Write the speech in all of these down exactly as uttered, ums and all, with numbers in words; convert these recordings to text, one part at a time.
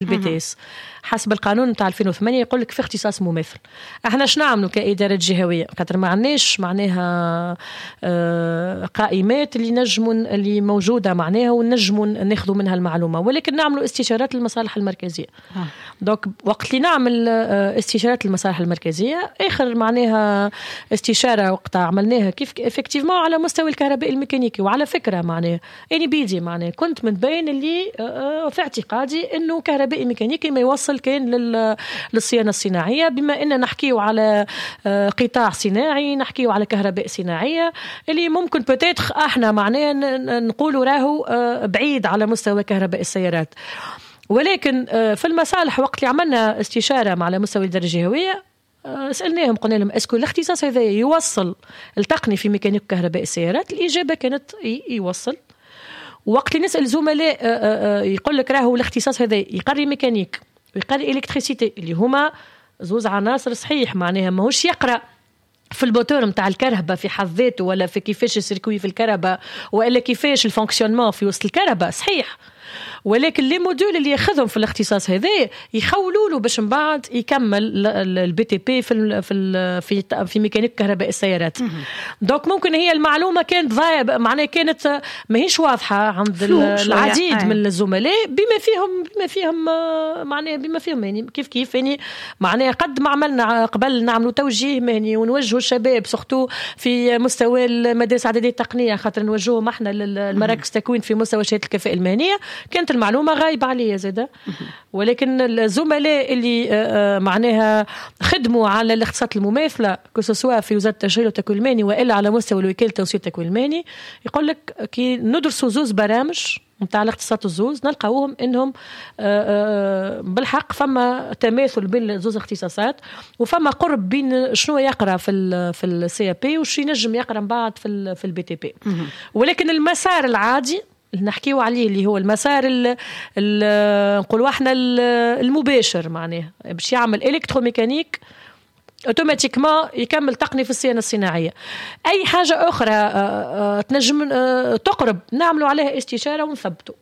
ال BTS حسب القانون نتاع ألفين وثمانية يقول لك في اختصاص مماثل. احنا اش نعملوا كادارة جهويه؟ خاطر ما عندناش معناها آه، قائمات اللي نجموا اللي موجودة معناها ونجموا ناخذوا منها المعلومه، ولكن نعملوا استشارات للمصالح المركزيه. donc وقت اللي نعمل آه، استشارات للمصالح المركزيه، اخر معناها استشاره وقت عملناها كيف effectivement على مستوى الكهرباء الميكانيكي، وعلى فكرة معناها اني بيدي معناها كنت من بين اللي آه، في اعتقادي انه كهربائي ميكانيكي ما يوصل كان للصيانه الصناعيه، بما ان نحكيو على آه، قطاع صناعي، نحكيو على كهرباء صناعية اللي ممكن peut-être احنا معناها نقولوا راهو آه، بعيد على مستوى كهرباء السيارات. ولكن آه، في المصالح وقت اللي عملنا استشاره مع على مستوى الادارة الجهويه، سالناهم قلنا لهم est-ce que الاختصاص هذا يوصل التقني في ميكانيك كهرباء السيارات؟ الاجابة كانت يوصل. وقت اللي نسال زملاء يقول لك راهو الاختصاص هذا يقري ميكانيك ويقري électricité، اللي هما زوز عناصر، صحيح معناها ماهوش يقرا في الموتور نتاع الكرهبه في حد ذاته ولا في كيفاش ال circuit في الكرهبه والا كيفاش ال fonctionnement في وسط الكرهبه، صحيح، ولكن les modules اللي ياخذهم في الاختصاص هذا يخولوا له باش من بعد يكمل ال BTP في ال في ال في في ميكانيك كهرباء السيارات. donc ممكن هي المعلومة كانت ضايعه، معناها كانت ماهيش واضحة عند العديد من الزملاء، بما فيهم بما فيهم معناها بما فيهم يعني كيف كيف يعني معناها قد ما عملنا قبل نعملوا توجيه مهني ونوجهوا الشباب surtout في مستوى المدارس الاعدادية التقنيه، خاطر نوجههم احنا للمراكز التكوين في مستوى شهادة الكفاءة المهنيه، كانت المعلومة غايبة عليا زاده. ولكن الزملاء اللي آه، آه، معناها خدموا على الاختصاصات المماثله، que ce soit في وزارة التشغيل والتكوين المهني والا على مستوى الوكالة التونسية للتكوين المهني، يقول لك كي ندرسوا زوز برامج نتاع الاختصاصات الزوز نلقاوهم انهم آه، بالحق فما تماثل بين زوز اختصاصات وفما قرب بين شنو يقرا في ال في ال CAP وش ينجم يقرا من بعد في ال في ال BTP. ولكن المسار العادي اللي نحكيو عليه، اللي هو المسار نقولوا احنا المباشر، معناه باش يعمل électromécanique automatiquement يكمل تقني في الصيانة الصناعيه. اي حاجة اخرى آه، آه، تنجم آه، تقرب نعملوا عليها استشاره ونثبتوا.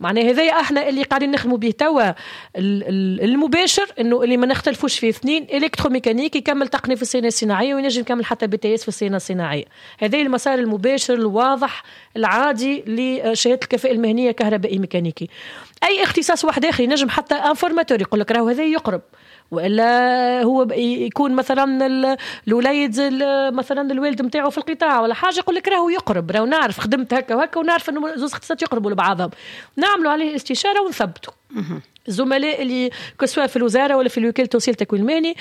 معناها هذايا احنا اللي قاعدين نخدموا به توا المباشر، انه اللي ما نختلفوش فيه اثنين، électromécanique يكمل تقني في الصيانة الصناعية وينجم يكمل حتى BTS في الصيانة الصناعيه. هذا المسار المباشر الواضح العادي لشهادة الكفاءة المهنية كهربائي ميكانيكي. اي اختصاص واحد اخر ينجم حتى un formateur يقول لك راهو هذا يقرب، والا هو يكون مثلا الوليد مثلا الوالد نتاعو في القطاع ولا حاجه، يقول لك راهو يقرب، راهو نعرف خدمت هكا وهكا ونعرف انه زوز اختصاصات يقربوا لبعضهم. نعملوا عليه استشاره ونثبتوا. الزملاء اللي que ce soit في الوزارة ولا في الوكالة التونسية للتكوين المهني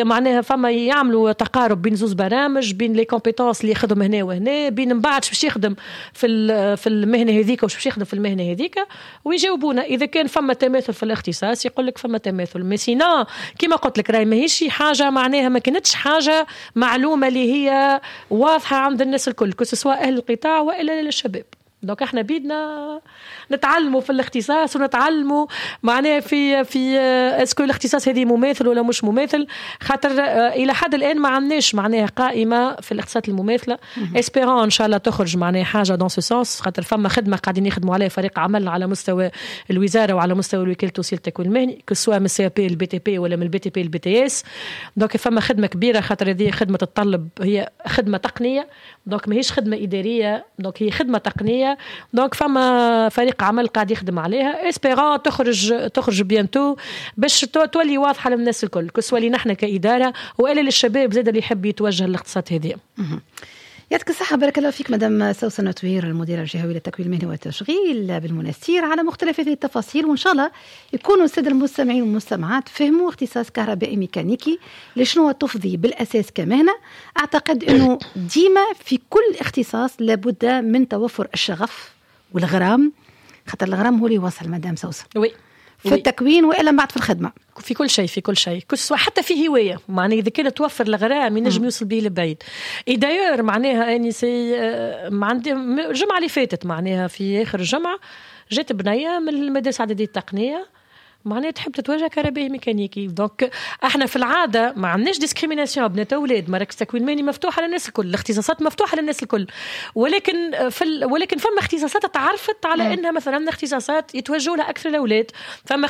معناها فما يعملوا تقارب بين زوز برامج، بين les compétences اللي ياخذهم هنا وهنا، بين من بعد باش يخدم في في المهنة هذيك وش باش يخدم في المهنة هذيك، ويجاوبونا اذا كان فما تماثل في الاختصاص، يقول لك فما تماثل. mais sinon كيما قلت لك راهي ماهيش حاجه، معناها ما كانتش حاجة معلومة اللي هي واضحة عند الناس الكل، que ce soit اهل القطاع والا الشباب. donc احنا بيدنا نتعلموا في الاختصاص ونتعلموا معناها في في est-ce que الاختصاص هذه مماثل ولا مش مماثل، خاطر آه، الى حد الان ما عندناش معناها قائمة في الاختصاصات المماثله. espérons ان شاء الله تخرج معناها حاجة dans ce sens، خاطر فما خدمة قاعدين يخدموا عليها فريق عمل على مستوى الوزارة وعلى مستوى الوكالة التونسية للتكوين المهني، que ce soit من ال CAP لل BTP ولا من ال BTP لل BTS. donc فما خدمة كبيره، خاطر هذه خدمة تتطلب، هي خدمة تقنيه، donc ماهيش خدمة اداريه، donc هي خدمة تقنيه. donc فما فريق عمل قاعد يخدم عليها، espérons تخرج تخرج bientôt باش تولي واضحة للناس الكل، que ce soit لينا احنا كادارة والا للشباب زاد اللي يحب يتوجه للاختصاصات هذه. يعطيك الصحة، بارك الله فيك مدام سوسن توير، المديرة الجهوية للتكوين المهني والتشغيل بالمنستير، على مختلف هذه التفاصيل، وإن شاء الله يكونوا السادة المستمعين والمستمعات فهموا اختصاص كهربائي ميكانيكي لشنو تفضي بالأساس كمهنة. أعتقد أنه ديما في كل اختصاص لابد من توفر الشغف والغرام، خاطر الغرام هو اللي يوصل مدام سوسن. oui. في التكوين والا بعد في الخدمه. في كل شيء، في كل شيء، que ce soit حتى في هوايه، معناها اذا كان توفر الغرام ينجم يوصل به لبعيد. et d'ailleurs معناها اني c'est ما عندي الجمعة اللي فاتت، معناها في اخر الجمعه، جات بنيه من المدارس الاعدادية التقنيه. معناها تحب تتوجه كهربائي ميكانيكي. donc احنا في العادة ما عندناش discrimination بنات اولاد، مراكز تكوين مهني مفتوحة للناس الكل، الاختصاصات مفتوحة للناس الكل، ولكن في ال... ولكن فما اختصاصات تعرفت على انها مثلا اختصاصات يتوجهوا لها اكثر الاولاد، فما